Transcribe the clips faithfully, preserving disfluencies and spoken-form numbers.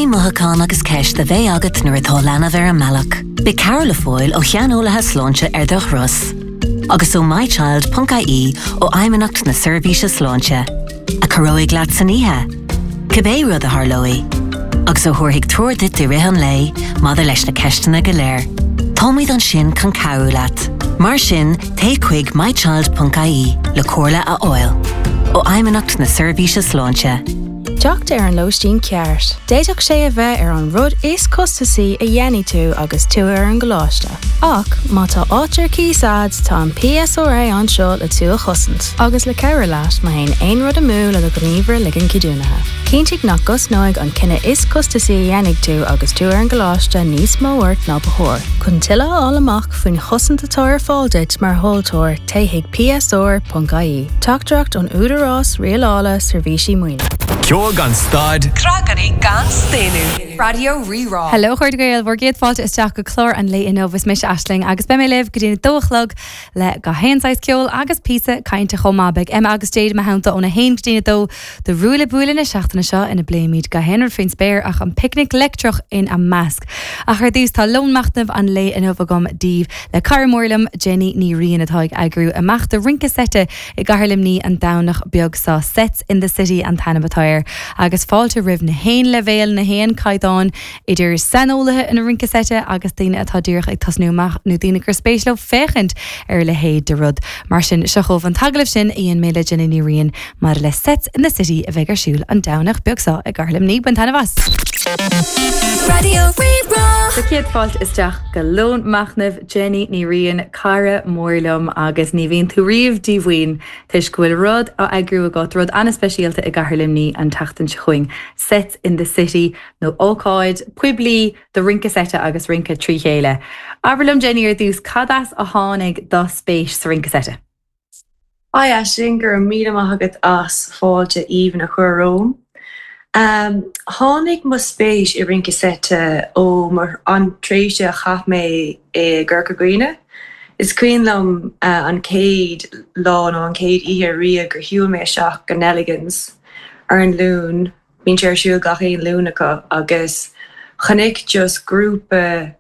iomaí mothúchán agus ceist a bheidh agat nuair atá leanbh ar an mbealach. Beidh cabhair le fáil ó shaineolaithe sláinte ar do thuras. Agus ó mychild.ie ó Fheidhmeannacht na Seirbhíse Sláinte, a chabhróidh leat san oíche. Cibé rud a tharlóidh, agus a thabharfaidh treoir duit i rith an lae maidir leis na ceisteanna go léir. Táimid ansin chun cabhrú leat. Mar sin téigh chuig mychild.ie le comhairle a fháil. Ó Fheidhmeannacht na Seirbhíse Sláinte. Teacht ar an lóistín ceart. D'fhéadfadh sé a bheith ar an rud is costasaí a dhéanfaidh tú agus tú ar an gcoláiste. Ach má tá áit ar cíos agat tá an PSRA anseo le tú a chosaint, agus le cabhrú leat má théann aon rud amú le do ghníomhaire ligean ceadúnaithe. Cinntigh nach gcosnóidh an cinneadh is costasaí a dhéanfaidh tú agus tú ar an gcoláiste níos mó ort ná ba chóir. Chun tuilleadh a fháil amach faoin chosaint atá ar fáil duit mar thomhaltóir téigh chuig PSR.ie. Teachtaireacht ón Údarás Rialála Seirbhísí Maoine. Ceol gan stad Trágairí gan staonadh. Raidió Rí-Rá. Hello chairde Gael bhur gcéad fáilte isteach go clár an lae inniu is mise Aisling agus beidh mé libh go dtí a dó a chlog le gach aon saghas ceol agus píosa cainte chomh maith beidh Emma agus Jade mo theannta óna haon go dtí a dó do Ruaille Buaille na seachtaine seo ina bpléimid gach aon rud faoin spéir ach an picnic leictreach ina measc. Ach ar dtús tá lón machnaimh an lae inniu agam daoibh le cara mór liom Jenny Ní Riain atá ag eagrú imeacht de rince seite i gCathair Luimnigh an Domhnach beag seo Sets in the City an t-ainm atá air agus fáilte roimh na haon leibhéal na haon caighdeán idir saineolaithe ina rince seite agus daoine atá díreach ag tosnú amach nó daoine gur spéis leo féachaint ar a leithéid de rud. Mar sin seo chugaibh an t-agallamh sin a dhein mé le Jenny Ní Riain mar le Sets in the City a bheidh ar siúl an Domhnach beag seo i gCathair Luimnigh bain taitneamh as. Raidió Rí-Rá. Sa chéad fáilte isteach go lón machnaimh Jenny Ní Riain cara mór liom agus ní bhíonn tú riamh díomhaoin toisc go bhfuil rud á eagrú agat rud an-speisialta i gCathair Luimnigh an tseachtain seo chugainn. Sets in the City nó ócáid poiblí do rince seite agus rince trí chéile. Abair liom Jenny ar dtús cad as a tháinig do spéis sa rince seite. Hi Aisling go raibh míle maith agat as fáilte aoibhinn a chur romham. Um, tháinig mo spéis i rince seite ó mar an tréimhse a chaith mé i gCorca Dhuibhne. Is cuimhin liom uh, an chéad lá nó an chéad oíche riamh gur shiúil mé isteach go Nelligan's ar an Luan, bíonn sé ar siúl gach aon Luan acu agus chonaic just grúpa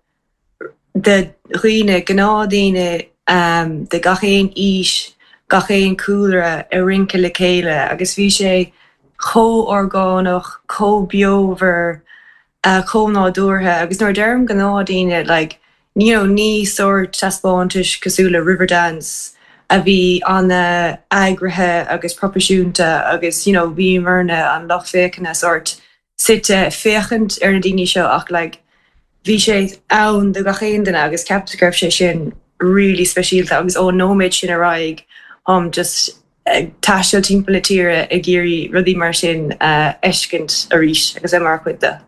de dhaoine gnáthdhaoine um, de gach aon aois, gach aon cúlra ag rince le chéile agus bhí sé chomh orgánach, chomh beomhar, uh, chomh nádúrtha agus nuair a deirim gnáthdhaoine like, you know, ní sórt taispeántais cosúil le Riverdance a bhí an-eagraithe agus proifisiúnta agus you know, bhí marna an lucht féachana sórt suite féachaint ar na daoine seo ach like, bhí sé ann do gach aon duine agus ceapaim go raibh sé sin really speisialta agus ón nóiméad sin ar aghaidh um, just ag taisteal timpeall na tíre ag iarraidh rudaí mar sin uh, fheiscint arís agus é mar chuid de.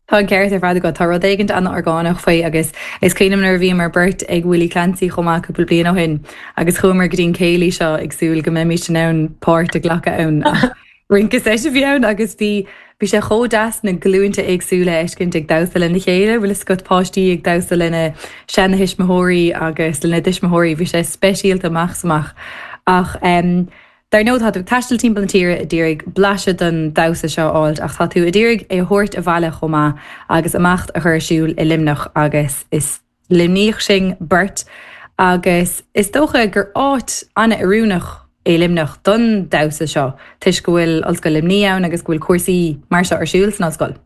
Tá an ceart ar fad agat tá rud éigin an-orgánach faoi agus is cuimhin nuair a bhíomar beirt ag Willie Clancy chomh maith cúpla bliain ó shin agus chuamar go dtí an céilí seo ag súil go mbeimis in ann páirt a ghlacadh ann rince seite a bhí ann agus bhí bhí sé chomh deas na glúnta éagsúla a fheiscint ag damhsa lena chéile, bhfuil scór páistí ag damhsa lena seanathuismitheoirí agus lena dtuismitheoirí, bhí sé speisialta amach amach ach um, Dar ndóigh tá tú taisteal timpeall na tíre ag iarraidh blaiseadh den damhsa seo a fháil ach tá tú ag iarraidh é a thabhairt abhaile chomh maith agus imeacht a chur ar siúl i Luimneach agus is Luimníoch sinn beirt agus is dócha gur áit an-oiriúnach é Luimneach don damhsa seo toisc go bhfuil Ollscoil Luimnigh ann agus go bhfuil cúrsaí mar seo ar siúl san ollscoil.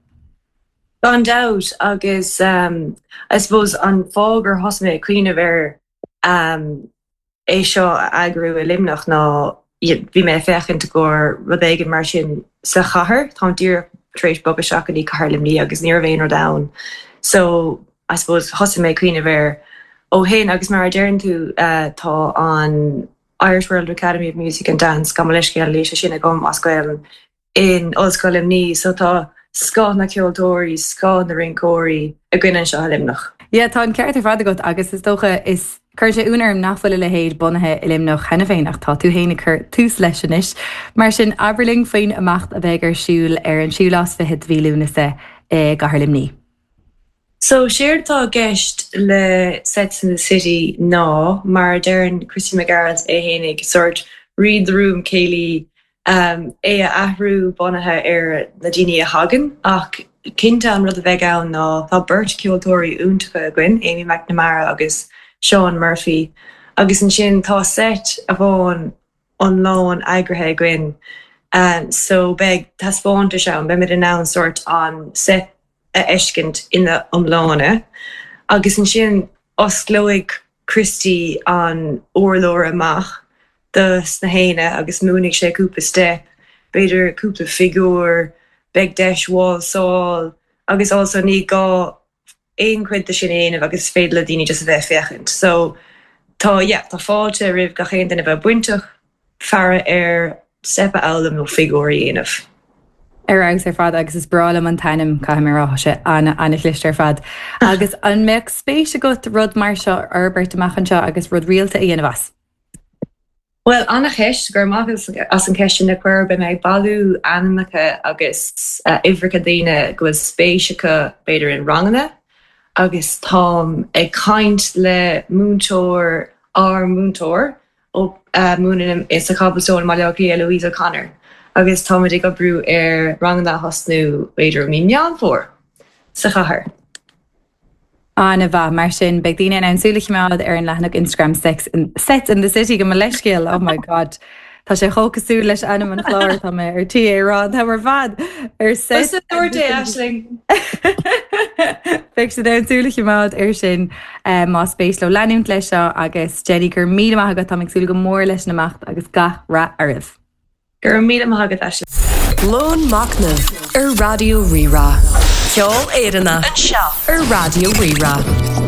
Gan dabht agus um, I suppose an fáth gur thosaigh mé ag cuimhneamh ar um, é seo a eagrú i Luimneach ná bhí mé féachaint go rud éigin mar sin sa chathair Tá díreach tar éis bogadh isteach go dtí Cathair Luimnigh agus ní raibh aon rud ann. So I suppose thosaigh mé cuimhneamh air ó shin agus mar a deireann tú uh, tá an Irish World Academy of Music and Dance gabh mo leithscéal leis sin agam as Gaeilge in Ollscoil Luimnigh, so tá scoth na ceoltóirí, scoth na rinceoirí againn anseo i Luimneach. Ja tá an ceart ar fad agat agus is dócha is Cuireann sé ionadh orm nach bhfuil a leithéid bunaithe i Luimneach cheana féin ach tá tú féin ag cur tús leis anois. Mar sin abair linn faoin imeacht a bheidh ar siúl ar an séú lá is fiche de mhí Lúnasa i gCathair Luimnigh. So séard atá i gceist le Sets in the City ná mar a deireann Christy Mac Gearailt é fhéinig sort read the room céilí um, é a athrú bunaithe ar na daoine a thagann ach Cinnte an rud a bheidh ann ná tá beirt ceoltóirí iontacha againn, Amy McNamara agus Sean Murphy, agus ansin tá set amháin iomlán eagraithe againn um, so beidh taispeántas ann, beimid in ann sort an set a fheiscint ina iomláine. Agus ansin osclóidh Christy an urlár amach dos na héinne agus múinfidh sé cúpla step, b'fhéidir cúpla figiúr, beidh deis válsáil agus also ní gá aon chuid de sin a dhéanamh agus is féidir le daoine just a bheith ag féachaint. So tá yeah, tá fáilte roimh gach aon duine bheith bainteach faire ar step a fhoghlaim nó figiúr a dhéanamh. Ar fheabhas ar fad agus is breá liom an t-ainm caithfidh mé a rá sé an-an-chliste ar fad. Agus an mbeadh spéis agat rud mar seo a fhorbairt amach anseo agus rud rialta a dhéanamh as. Well an-cheist go raibh maith as an cheist sin a chur beidh mé ag bailiú ainmneacha agus uh, uimhreacha daoine go bhfuil spéis acu b'fhéidir in ranganna agus táim ag caint le múinteoir ár múinteoir ó uh, múineann sa Cobblestone Baile Átha Cliath Louise O'Connor agus táimid ag oibriú ar ranganna a thosnú b'fhéidir mí Meán Fómhair sa chathair. An-mhaith mar sin beidh daoine in ann súil a choimeád ar an leathanach Instagram Sex in, Sets in the City go mo leithscéal oh my god. Tá sé chomh cosúil leis ainm an chláir tá mé ar tí rá tá mar fad ar set Aisling. Beidh siad in ann súil a choimeád ar sin eh, más spéis leo leanúint leis seo agus Jenny gur míle maith agat tá súil go mór leis an imeacht agus gach rath oraibh. Gur míle maith agat Aisling. Lón Machnamh ar Raidió Rí-Rá. Ceol Éireannach anseo ar Raidió Rí-Rá.